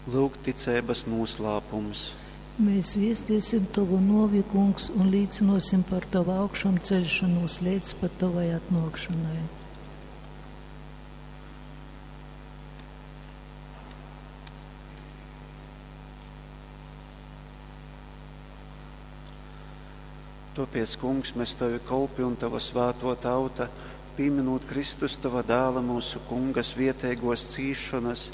Lūk, ticeibas nūslāpums. Mēs viestiesim Tovu nuovi, Kungs, un līcinosim par Tavu augšām ceļšanos līdz pat Tavai atnākšanai. Topiec, Kungs, mēs Tavi kolpi un Tava svāto tauta, pieminot Kristus Tava dēla mūsu Kunga svietēgos cīšanas,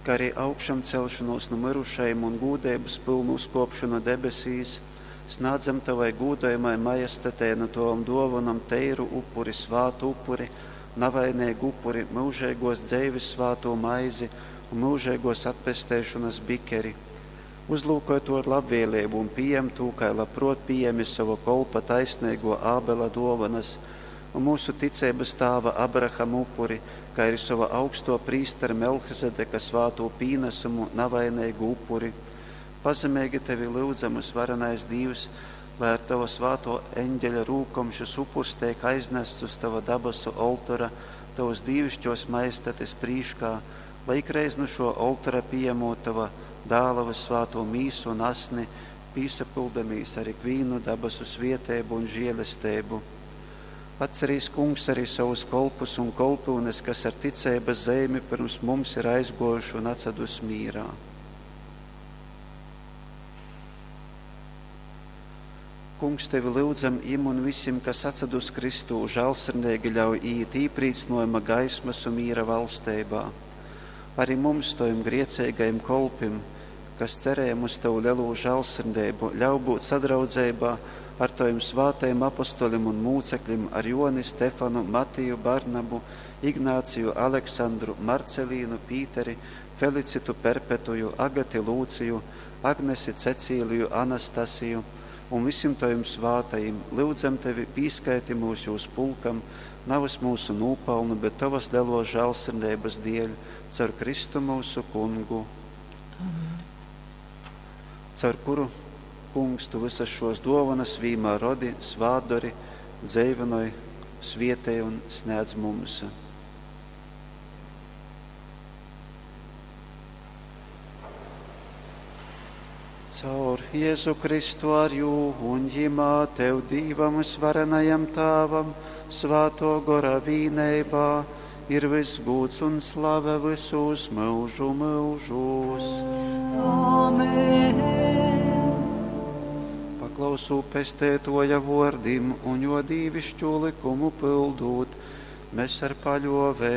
kā arī augšām celšanos no mirušajiem un gūdības pilnu uzkopšanu debesīs, snādzam Tavai gūdojamai majestatē no Tovam dovanam teiru upuri, svātu upuri, navainīgu upuri, mūžīgos dzeives svāto maizi un mūžīgos atpestēšanas bikeri. Uzlūkoj to ar labvēlību un pieņem to, kā labprot pieņemi savu kolpa taisnīgo Ābela dovanas un mūsu ticības tēva Abrahama upuri, kā arī sava augsto prīstera Melhizedeka svāto pīnesumu navainīgu upuri. Pazemīgi tevi lūdzam, varenais Dievs, lai ar tava svāto eņģeļa rūkom šis upurs tiek aiznests uz tava dabasu oltora, tavas dīvišķos majestates prīškā, lai ikreiz no šo oltora pieņemot tava dāla svāto mīsu un asni, pīsapildamīs ar ikvīnu dabasu svietēbu un žēlestību. Atcerīs, kungs, arī savus kolpus un kolpūnes, kas ar ticības zīmi pirms mums ir aizgojuši un atsedus mīrā. Kungs, tevi lūdzam, im un visiem, kas atsedus Kristū, žēlsirdīgi ļauj iet īprīcnojuma gaismas un mīra valstībā. Arī mums, tojam griecīgajiem kolpim, kas cerējam uz tavu lielo žēlsirdību, ļauj būt sadraudzībā ar taviem svātajiem apostoļiem un mūcekļiem, ar Joni, Stefanu, Matiju, Barnabu, Ignāciju, Aleksandru, Marcelīnu, Pīteri, Felicitu Perpetuju, Agati Lūciju, Agnesi, Cecīliju, Anastasiju un visiem taviem svātajiem. Lūdzam tevi, pīskaiti mūs jūs pulkam, navas mūsu nopelnu, bet tavas lielo žēlsirdības dēļ, caur Kristu mūsu kungu. Amen. Caur kuru, kungs, tu visas šos dovanas vīmā rodi, svādori, dzeivinoj, svietēj un sniedz mums. Caur Jēzu Kristu ar jū un ģimā tev Dīvam svarenajam Tāvam, svāto gora vīneibā, ir viss gūts un slave visus mūžu mūžos. Amen. Paklausū pestētoja vordim un jo dīvišķu likumu pildūt, mēs ar paļovē